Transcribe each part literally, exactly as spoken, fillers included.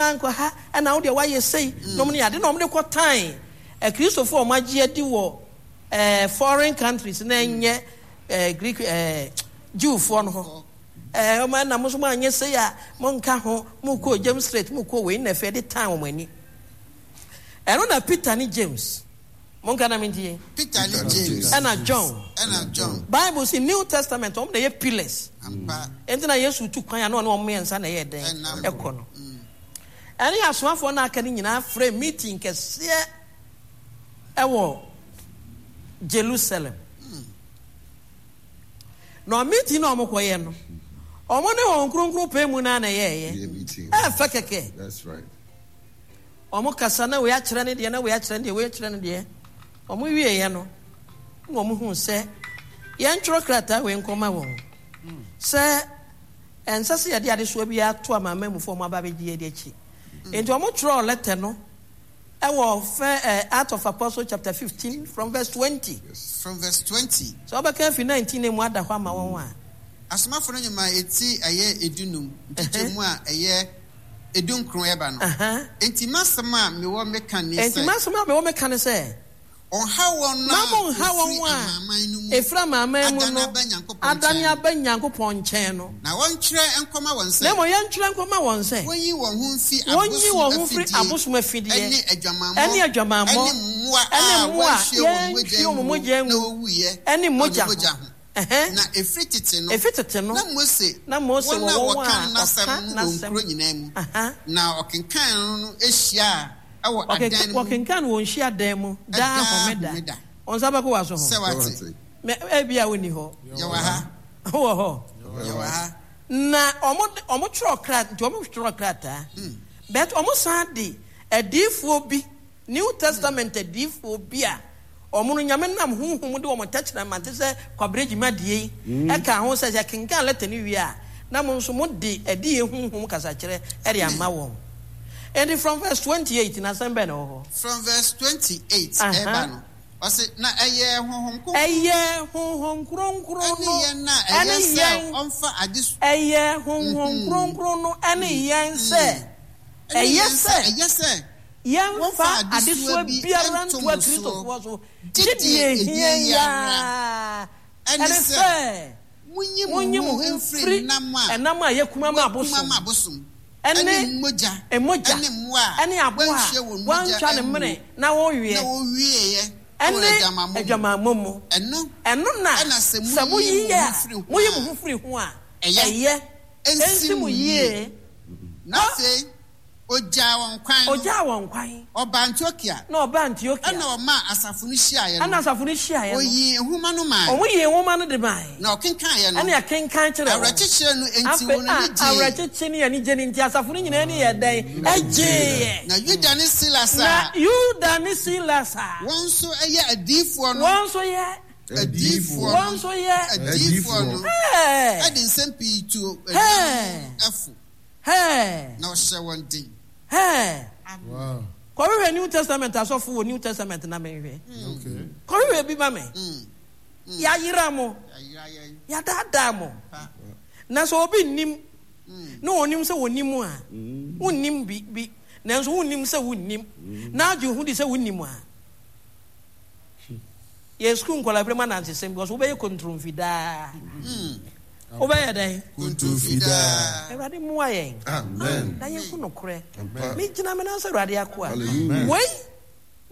Woansan ankɔ ha, ɛna wo deɛ woayɛ sei, nom ne ade na wɔde kɔtan Akristofoɔ a wɔagye adi wɔ eh, foreign countries na ɛnyɛ eh, Greek eh, Jewfoɔ no hɔ. Eh, wɔn ɛna mo nso moanyɛ sei a, monka ho, mokɔ James Street, mokɔ wei na afei de tan wɔn ani. Ɛno na Peter ne James, monka na mentie. Peter ne James. Ɛna John. Ɛna John. Bible si New Testament, wɔn na ɛyɛ pillars. Ampa. Enti na Yesu tu kwan a na ɔne wɔn mmiɛnsa na ɛyɛ dɛn? Ɛkɔ no. Ɛne asomafoɔ no aka no nyinaa frɛ meeting kɛseɛ ɛwɔ Jerusalem. Na meeting na wɔn kɔyɛ no, wɔn ne wɔn kronkron pɛ mu na na ɛyɛɛyɛ. Ɛfɛ kɛkɛ. That's right. Wɔn kasa na wei akyerɛ ne deɛ na wei akyerɛ ne deɛ wei akyerɛ ne deɛ. Wɔn wieɛ no, na wɔn hu sɛ yɛntwerɛ krataa wei nkɔma wɔn sɛ ɛnsɛ sɛ yɛde adesoa biara to amanamanmufoɔ wɔn aba abɛgye yɛn akyi. Nti wɔn twerɛɛ lɛtɛ no ɛwɔ fɛ ɛ Acts of Apostles chapter fifteen from verse twenty. From verse twenty. Sɛ wɔbɛka afi nineteen na emu ada hɔ ama wɔn a. Asomafo no nnwuma a eti ɛyɛ edunum nkyekyɛmu a ɛyɛ edunkron ɛba no. Enti m'asɛm a mewɔ meka ne sɛ. Enti m'asɛm a mewɔ meka ne sɛ. Ɔnhaw wɔn a wɔfiri amanaman no mu ɛfiri amanaman mu adane no aba Nyankopɔn adane nkyɛn no. aba Nyankopɔn nkyɛn no. Na wɔntwerɛ nkɔma wɔn sɛ. Na mmom yɛntwerɛ nkɔma wɔn sɛ. Wɔnyi wɔn ho mfi Wɔnyi wɔn ho abosom mfiri afidie abosom afidie ne adwamammɔ ne adwamammɔ ne mmoa ne a mmoa a wɔanhwie wɔn mogya yɛanhwie wɔn angu mogya na angu wɔwuiɛ ne na wɔde mogya ho. mogya ho. Ɛhɛn. Na ɛfiri tete no, Ɛfiri tete no, na Mose na Mose wɔn wɔ a wɔn wɔka a n'asɛm wɔka no wɔ n'asɛm. nkuro nyinaa mu, Aha. na ɔkenkan no hyiaa wɔ adan no mu. Wɔkenkan wɔ nhyiadan mu daa homeda. Wo nsa bɛkɔ w'aso ho. Sɛ wate. Mɛ ebia wonni hɔ. Yɛwɔ ha. Wowɔ hɔ. Yɛwɔ ha. Na wɔn de wɔn twerɛ krat nti wɔn twerɛ krataa. But wɔn san de adiifoɔ bi, New Testament adiifoɔ bi a wɔn no Nyame nam honhom mu de wɔn tɛkyerɛma te sɛ Kwabere dwumadie yi ɛka ho sɛ yɛkenkan lɛtɛ no wie a na mo nso mo de adiyie honhom kasakyerɛ de ama wɔn. Enti from verse twenty eight no asɛm bɛn na ɛwɔ hɔ? From verse twenty eight ɛreba no, ɔse, Na ɛyɛɛ Honhom Kronkron. Ɛyɛɛ Honhom Kronkron no ɛne yɛn a ɛyɛ ɛne sɛ yɛn. Ɔmfa ade. Ɛyɛɛ Honhom Kronkron no ɛne yɛn sɛ Ɛne ɛyɛ yɛn sɛ sɛ ɛyɛ sɛ yɛmfa wɔmfa adesoa adesoa bi biara nto nto mo soɔ, Akristofoɔ so, gye gye deɛ deɛ ɛhia ɛhia yi yi ara, ara, ɛne ɛne sɛ sɛ monyi mo monyi mo ho ho mfiri mfiri nam a ɛnam a yɛkum ama wɔakum abosom ama abosom, ɛne ɛne mogya, mogya, ɛne mmoa a ɛne aboa a wɔanhwie wɔn mogya wɔantwa ne angu mene na wɔweɛ, na wɔwieeɛ wɔ ɛne adwamammɔ mu. adwamammɔ mu. Ɛno Ɛno na na sɛ sɛ moyi moyi mo a ho firi ho moyi a, mo ho firi ho a, ɛyɛ, ɛyɛ, ɛnsi ɛnsi mo mo yie. yie. Na afei ogyaa wɔn kwan no. Ogyaa wɔn kwan. Ɔbaa Antiokia. Na ɔbaa Antiokia. Ɛnna ɔmaa asafo no hyiaeɛ no. Ɛnna asafo no hyiaeɛ no. Ɔyii nwoma no mae. Wɔyii nwoma no de mae. Na ɔkenkaneeɛ no. Ɛnna yɛkenkan kyerɛɛ wɔn. Awerɛkyekyerɛ no nti Afei wɔn ani a gyee. awerɛkyekye ne anigye no nti asafo no nyinaa ani yɛɛ dɛn? Ɛgyeeɛ. Na Yuda ne Silas a. Na Yuda ne Silas a. Wɔn nso yɛ adiyifoɔ no. Wɔn nso yɛ. Adiyifoɔ no. Wɔn nso yɛ. Adiyifoɔ no. Hɛɛ. De nsɛm pii tuu anuanom no fo. Hɛɛ. Na ɔhyɛɛ wɔn den. Hɛɛ. Wow. Kɔhwehwɛ New Testament asɔfo wɔ New Testament na menhwɛ. Okay. Kɔhwehwɛ bi ma me. Yɛayera mo. Yɛadaadaa mo. Na sɛ obi nnim na onim sɛ onim a, wonnim bi bi, nanso wonnim sɛ wonnim, na agye wo ho di sɛ wonim a, yɛ sukuu nkwadaa bere mu anansesɛm because wobɛyɛ kontromfi daa. Wobɛyɛ dɛn? Kontromfi daa. Awurade mmoa yɛn. Amen. Na yɛnhu nokorɛ. Ampa. Megyina me nan sɛ Awurade akoa. Hallelujah. Wei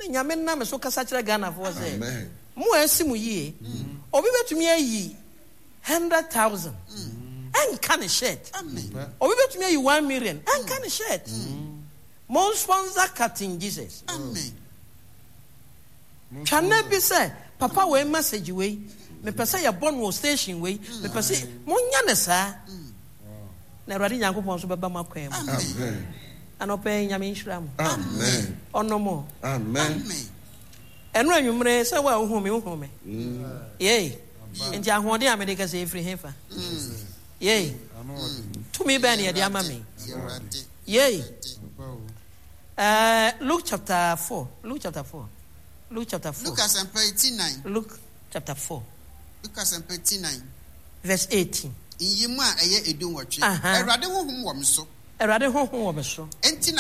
na Nyame nam me so kasa kyerɛ Ghanafoɔ sɛ, Amen. mo a asi mo yie, obi bɛtumi ayi hundred thousand ɛnka ne shirt. Amen. Obi bɛtumi ayi one million ɛnka ne shirt. Mon sponsor Captain Jesus. Amen. Twa nna bi sɛ, papa wei message wei, mepɛ sɛ yɛbɔ no wɔ station wei, mepɛ sɛ monyɛ no saa. Na Awurade Nyankopɔn nso bɛba mo akwan mu. Amen. Anɔpa yi Nyame nhyira mo. Amen. Ɔnɔ mo. Amen. Ɛno anwummere sɛ wo a wohu me wohu me. Yei. Nti ahoɔden a mede kasa yi firi hefa? Yei. Tumi bɛn na yɛde ama me? Yei. Uh, Luke chapter four. Luke chapter four. Luke chapter four. Luke asɛmpa eti nan. Luke chapter four. Luke asɛmpa eti nan. Verse eighteen. Nyiyimu a ɛyɛ edu nwɔtwe. Aha. Awurade honhom wɔ me so. Awurade honhom wɔ me so. Enti na